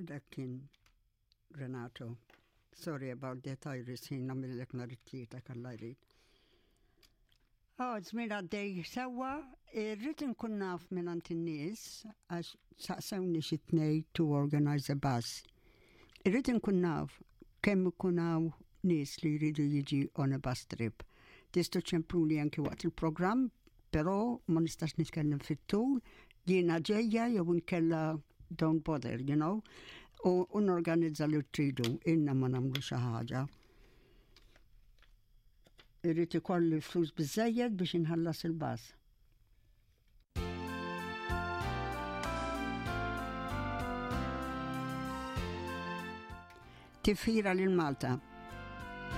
Dak kien Renato. Sorry about that, Iris, ħin nagħmillek nhar it-tlieta kalla jrid. Oh, żmien għaddej sewwa, irrid inkun naf mingħand in-nies għax saqsewni xi tnej to organize a bus. Irrid inkun naf kemm ikun hawn nies li jridu jiġi on a bus trip. Tistgħu ċempluli anki waqt il-programm, però ma nistax nitkellem fit-tul, jiena ġejja jew inkella don't bother, you know, u, u norganizza li tridu, inna ma nagħmlu xi ħaġa. Irrid ikolli flus biżejjed biex inħallas il-bas. Tifħira lil Malta.